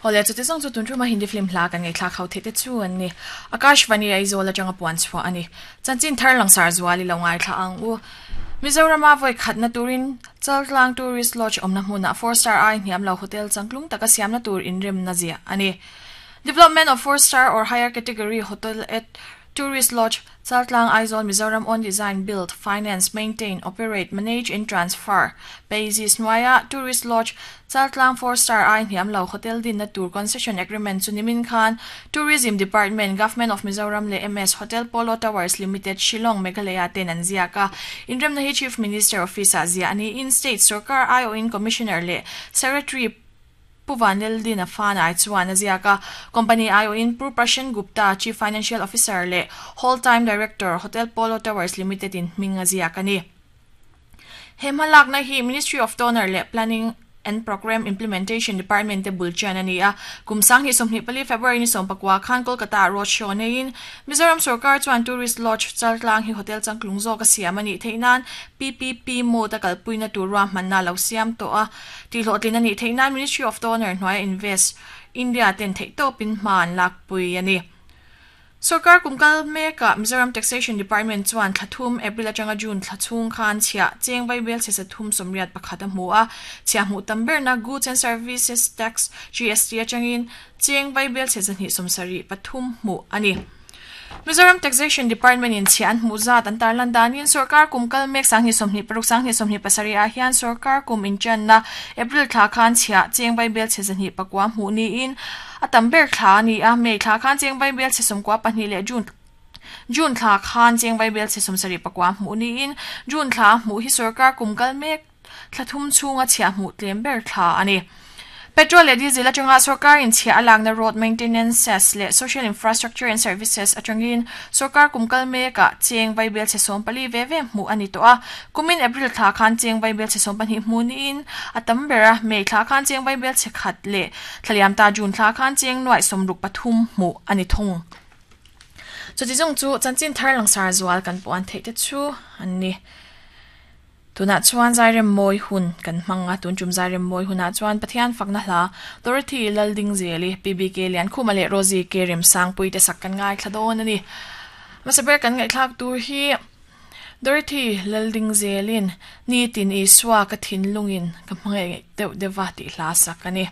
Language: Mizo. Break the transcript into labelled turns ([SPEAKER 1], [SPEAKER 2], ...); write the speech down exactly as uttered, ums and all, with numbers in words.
[SPEAKER 1] Hole chu ti zawng chu tun thuma Hindi film hla kan ngei thla khau the te chu an ni. Akashvani Aizawl atanga puan chhuah ani. Chanchin thar langsar zuali lo ngai thla ang u. Mizorama voi khatna turin Chaltlang Tourist Lodge omna hmuna four star ai hniam lo hotel changtlung taka siamna tur inrem na zia ani. Development of four star or higher category hotel at Tourist Lodge Chaltlang Aizawl Mizoram on design build finance maintain operate manage and transfer basis nuaya Tourist Lodge Chaltlang four star ai hniam lo hotel din na tour concession agreement chunimin khan Tourism Department Government of Mizoram le M S Hotel Polo Towers Limited Shillong Meghalaya ten an zia ka inrem na hi Chief Minister Office a zia ani in state sarkar I O in Commissioner le Secretary Puvanel din a fan ai chuan a ziaka company I O in Prashan Gupta Chief Financial Officer le Whole Time Director Hotel Polo Towers Limited in hminga ziaka ni hemalak na hi Ministry of Donor le Planning and Program Implementation Department te bulchan ani a kumsang hi somni pali February ni sompakwa khan Kolkata road show nein Mizoram sarkar chuan Tourist Lodge Chaltlang hi hotel changklung zo ka siam ani theinan P P P mo ta kalpuina turwa manna lo siam to a ti hlotlin ani theinan Ministry of Donor hnuai Invest India ten thei to pin man lak pui ani Sarkar kumkal meka Mizoram Taxation Department chuan thlathum April atanga June thlachung khan chhia cheng vai bel che sathum somriat pakhat a hmu a chhia hmu tamber na Goods and Services Tax G S T atangin cheng vai bel che zani somsari pathum hmu ani Mizoram Taxation Department in chian hmu zat an tarlan danin sarkar kumkal mek sangni somni paruk sangni somni pasari a hian sarkar kum inchan na April thla khan chhia cheng vai bel che zani pakwa hmu ni in atamber thla ni a mei thla khan cheng vai bel che somkwa pahnih le June June thla khan cheng vai bel che somsari pakwa hmu ni in June thla hmu hi sarkar kumkal mek thlathum chunga chhia hmu tlem ber thla ani Petrol le diesel atanga sarkar in chhia alang na road maintenance cess le social infrastructure and services atangin sarkar kumkal me ka cheng vai bel che som pali ve ve hmu ani to a kumin April thla khan cheng vai bel che som pahnih hmu ni in atam bera mei thla khan cheng vai bel che khat le thlaliam ta June thla khan cheng nuai somruk pathum hmu ani thung chu ti jong chu chanchin thar langsar zual kan puan thei te chu anni tuna chuan zairem moi hun kan hmanga tun chum zairem moi huna chuan Pathian fakna hla Dorothy Lalding Zeli P B K lian khuma le Rosie K rem sang pui te sak kan ngai thladon ani masaber kan ngai thlak tur hi Dorothy Lalding Zelin ni tin Isua ka thin lungin ka hmangai deuh dewa ti hla sak ani.